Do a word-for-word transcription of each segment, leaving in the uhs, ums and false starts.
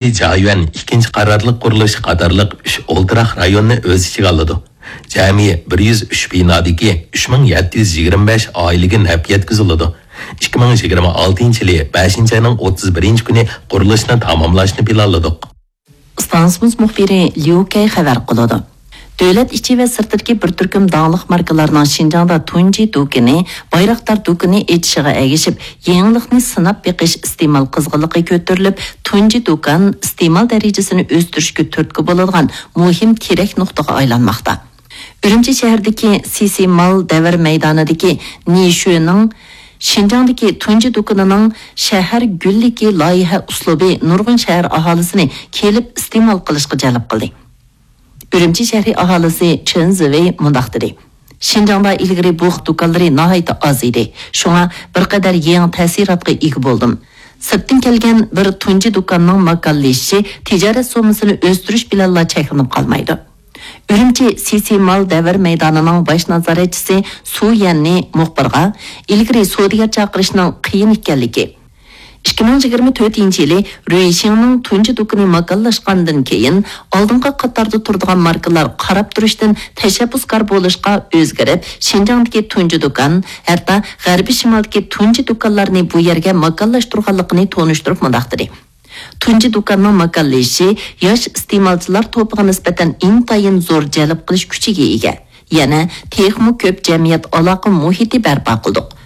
جايۈەن ئىككىنچى قارارلىق قۇرۇلۇشى قاتارلىق ئۈچ ئولتۇراق رايوننى ئۆز ئىچىگە ئالىدۇ. جەمئىي بىر يۈز ئۈچ بىنادىكى ئۈچ مىڭ يەتتە يۈز يىگىرمە بەش ئائىلىگە نەپ يەتكۈزۈلىدۇ. ئىككى مىڭ يىگىرمە ئالتىنچى يىلى بەشىنچى ئاينىڭ ئوتتۇز بىرىنچى كۈنى قۇرۇلۇشنى تاماملاشنى پىلانلىدۇق. ئىستانسىمىز مۇخبىرى ليۇ كەي خەۋەر قىلىدۇ. دۆلەت ئىچى ۋە سىرتىدىكى بىر تۈركۈم داڭلىق ماركىلارنىڭ شىنجاڭدا تۇنجى دۇكىنى، بايراقدار دۇكىنى ئېچىشىغا ئەگىشىپ، يېڭىلىقنى سىناپ بېقىش ئىستېمال قىزغىنلىقى كۆتۈرۈلۈپ، تۇنجى دۇكان ئىستېمال دەرىجىسىنى ئۆستۈرۈشكە تۈرتكە بولىدىغان مۇھىم تىرەك نۇقتىغا ئايلانماقتا. ئۈرۈمچى شەھىرىدىكى سىسى مال دەۋر مەيدانىدىكى نىشۈنىڭ شىنجاڭدىكى تۇنجى دۇكىنىنىڭ شەھەر گۈللۈكى لايىھە ئۇسلۇبى نۇرغۇن شەھەر ئاھالىسىنى كېلىپ ئىستېمال قىلىشقا جەلپ قىلدى. ئۈرۈمچى شەھىرى ئاھالىسى چېن زىۋېي مۇنداق دېدى: شىنجاڭدا ئىلگىرى بۇ خىل دۇكانلىرى ناھايىتى ئاز ئىدى. شۇڭا بىر قەدەر يېڭى تەسىراتقا ئىگە بولدۇم. سىرتتىن كەلگەن بىر تۇنجى دۇكاننىڭ ماكانلىشىشى تىجارەت سوممىسىنى ئۆستۈرۈش بىلەنلا چەكلىنىپ قالمايدۇ. ئۈرۈمچى سىسى مال دەۋر مەيدانىنىڭ باش نازارەتچىسى سۇ يەننى مۇخبىرغا، ئىلگىرى سودىگەر چاقىرىشنىڭ قىيىن ئىكەنلىكى، ئىككى مىڭ يىگىرمە تۆتىنچى يىلى رۈيشىڭنىڭ تۇنجى دۇكىنى ماكانلاشقاندىن كېيىن، ئالدىنقى قاتاردا تۇرىدىغان ماركىلار قاراپ تۇرۇشتىن تەشەببۇسكار بولۇشقا ئۆزگىرىپ، شىنجاڭدىكى تۇنجى دۇكان، ھەتتا غەربىي شىمالدىكى تۇنجى دۇكانلارنى بۇ يەرگە ماكانلاشتۇرغانلىقىنى تونۇشتۇرۇپ مۇنداق دېدى: تۇنجى دۇكاننىڭ ماكانلىشىشى ياش ئىستېمالچىلار توپىغا نىسبەتەن ئىنتايىن زور جەلپ قىلىش كۈچىگە ئىگە. يەنە تېخىمۇ كۆپ جەمئىيەت ئالاقە مۇھىتى بەرپا قىلدۇق.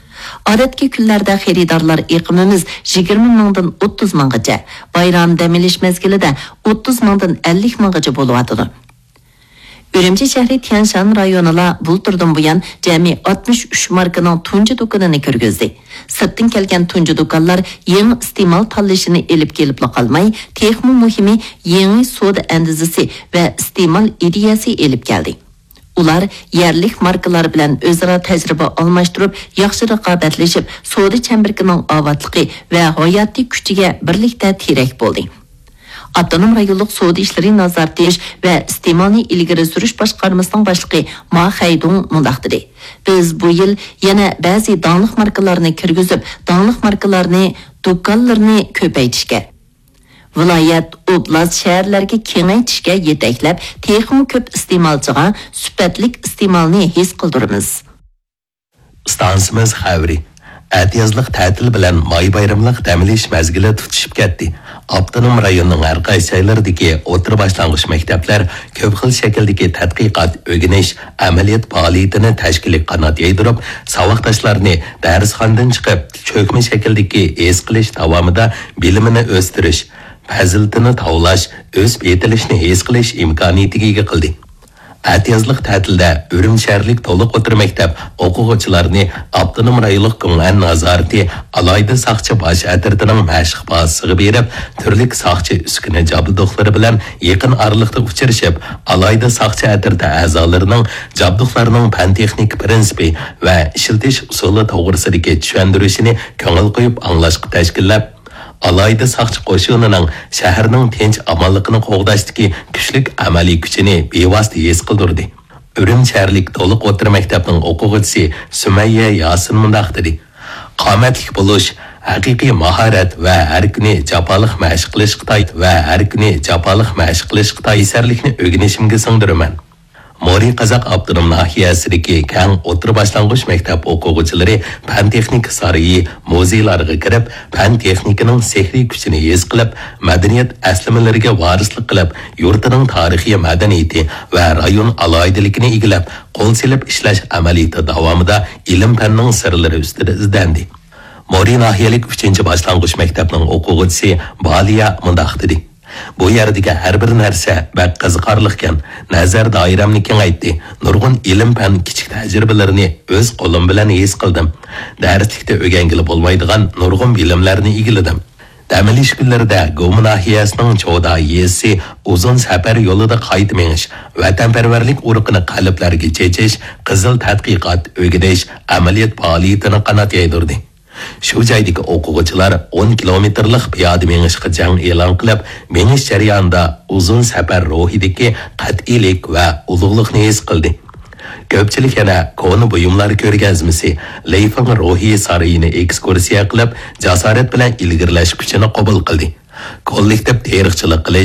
ئادەتتىكى كۈنلەردە خېرىدارلار ئېقىمىمىز يىگىرمە مىڭدىن ئوتتۇز مىڭغىچە، بايرام دەم ئېلىش مەزگىلىدە ئوتتۇز مىڭدىن ئەللىك مىڭغىچە بولۇۋاتىدۇ. ئۈرۈمچى شەھىرى تيەنشان رايونىلا بۇلتۇردىن بۇيان جەمئىي ئاتمىش ئۈچ ماركىنىڭ تۇنجى دۇكىنىنى كىرگۈزدى. سىرتتىن كەلگەن تۇنجى دۇكانلار يېڭى ئىستېمال تاللىشىنى ئېلىپ كېلىپلا قالماي، تېخىمۇ مۇھىمى، يېڭى سودا ئەندىزىسى ۋە ئىستېمال ئىدىيەسى ئېلىپ كەلدى. ئۇلار يەرلىك ماركىلار بىلەن ئۆزئارا تەجرىبە ئالماشتۇرۇپ، ياخشى رىقابەتلىشىپ، سودا چەمبىرىكىنىڭ ئاۋاتلىقى ۋە ھاياتىي كۈچىگە بىرلىكتە تىرەك بولدى. ئاپتونوم رايونلۇق سودا ئىشلىرى نازارىتى ۋە ئىستېمالنى ئىلگىرى سۈرۈش باشقارمىسىنىڭ باشلىقى ما خەيدۇڭ مۇنداق دېدى: بىز بۇ يىل يەنە بەزى داڭلىق ماركىلارنى كىرگۈزۈپ، داڭلىق ماركىلارنى، دۇكانلىرىنى كۆپەيتىشكە، ۋىلايەت، ئوبلاست، شەھەرلەرگە كېڭەيتىشكە يېتەكلەپ، تېخىمۇ كۆپ ئىستېمالچىغا سۈپەتلىك ئىستېمالنى ھېس قىلدۇرىمىز. ئىستانسىمىز خەۋىرى. ئەتىيازلىق تەتىل بىلەن ماي بايرىملىق دەم ئېلىش مەزگىلى تۇتىشىپ كەتتى. ئاپتونوم رايوننىڭ ھەر قايسى جايلىرىدىكى ئوتتۇرا باشلانغۇچ مەكتەپلەر كۆپ خىل شەكىلدىكى تەتقىقات، ئۆگىنىش، ئەمەلىيەت پائالىيىتىنى تەشكىلىي قانات يايدۇرۇپ، ساۋاقداشلارنى دەرسخانىدىن چىقىپ، چۆكمە شەكىلدىكى ھېس قىلىش داۋامىدا بىلىمىنى ئۆستۈرۈش، پەزىلىتىنى تاۋلاش، ئۆسۈپ يېتىلىشنى ھېس قىلىش ئىمكانىيىتىگە ئىگە قىلدى. ئەتىيازلىق تەتىلدە ئۈرۈمچى شەھەرلىك تولۇق ئوتتۇرا مەكتەپ ئوقۇغۇچىلارنى ئاپتونوم رايونلۇق گۇڭئەن نازارىتى ئالاھىدە ساقچى باش ئەترىتىنىڭ مەشىق بازىسىغا بېرىپ، تۈرلۈك ساقچى ئۈسكۈنە جابدۇقلىرى بىلەن يېقىن ئارىلىقتا ئۇچرىشىپ، ئالاھىدە ساقچى ئەترىتى ئەزالىرىنىڭ جابدۇقلارنىڭ پەن-تېخنىكا پىرىنسىپى ۋە ئىشلىتىش ئۇسۇلى توغرىسىدىكى چۈشەندۈرۈشىنى كۆڭۈل قويۇپ ئاڭلاشقا تەشكىللەپ، ئالاھىدە ساقچى قوشۇنىنىڭ شەھەرنىڭ تىنچ-ئامانلىقىنى قوغداشتىكى كۈچلۈك ئەمەلىي كۈچىنى بىۋاسىتە ھېس قىلدۇردى. ئۈرۈمچى شەھەرلىك تولۇق ئوتتۇرا مەكتەپنىڭ ئوقۇغۇچىسى سۈمەييە ياسىن مۇنداق دېدى: قامەتلىك بولۇش، ھەقىقىي ماھارەت ۋە ھەر كۈنى جاپالىق مەشىق قىلىشقا تاي-، ۋە ھەر كۈنى جاپالىق مەشىق قىلىشقا تايىنلىق ئىشلەرنى ئۆگىنىشىمگە سىڭدۈرىمەن. مورى قازاق ئاپتونوم ناھىيەسىدىكى كەڭ ئوتتۇرا باشلانغۇچ مەكتەپ ئوقۇغۇچىلىرى پەن-تېخنىكا سارىيى، مۇزېيلارغا كىرىپ، پەن-تېخنىكىنىڭ سېھرىي كۈچىنى ھېس قىلىپ، مەدەنىيەت ئەسلىمىلىرىگە ۋارىسلىق قىلىپ، يۇرتىنىڭ تارىخىي مەدەنىيىتى ۋە رايون ئالاھىدىلىكىنى ئىگىلەپ، قول سېلىپ ئىشلەش ئەمەلىيىتى داۋامىدا ئىلىم-پەننىڭ سىرلىرى ئۈستىدە ئىزدەندى. مورى ناھىيەلىك ئۈچىنچى باشلانغۇچ مەكتەپنىڭ ئوقۇغۇچىسى بالىيا مۇنداق دېدى: بۇ يەردىكى ھەر بىر نەرسە بەك قىزىقارلىقكەن، نەزەر دائىرەمنى كېڭەيتتى، نۇرغۇن ئىلىم-پەن، كىچىك تەجرىبىلىرىنى ئۆز قولۇم بىلەن ھېس قىلدىم، دەرسلىكتە ئۆگەنگىلى بولمايدىغان نۇرغۇن بىلىملەرنى ئىگىلىدىم. دەم ئېلىش كۈنلىرىدە گۇما ناھىيەسىنىڭ چودا يېزىسى ئۇزۇن سەپەر يولىدا قايتا مېڭىش، ۋەتەنپەرۋەرلىك ئۇرۇقىنى قەلبلەرگە چېچىش، قىزىل تەتقىقات، ئۆگىنىش، ئەمەلىيەت پائالىيىتىنى قانات يايدۇردى. شۇ جايدىكى ئوقۇغۇچىلار ئون كىلومېتىرلىق پىيادە مېڭىشقا جەڭ ئېلان قىلىپ، مېڭىش جەريانىدا ئۇزۇن سەپەر روھىدىكى قەتئىيلىك ۋە ئۇلۇغلۇقنى ھېس قىلدى. كۆپچىلىك يەنە كونا بۇيۇملار كۆرگەزمىسى، لېيفېڭ روھىي سارىيىنى ئېكسكۇرسىيە قىلىپ، جاسارەت بىلەن ئىلگىرىلەش كۈچىنى قوبۇل قىلدى. كوللېكتىپ تېرىقچىلىق قىلىش،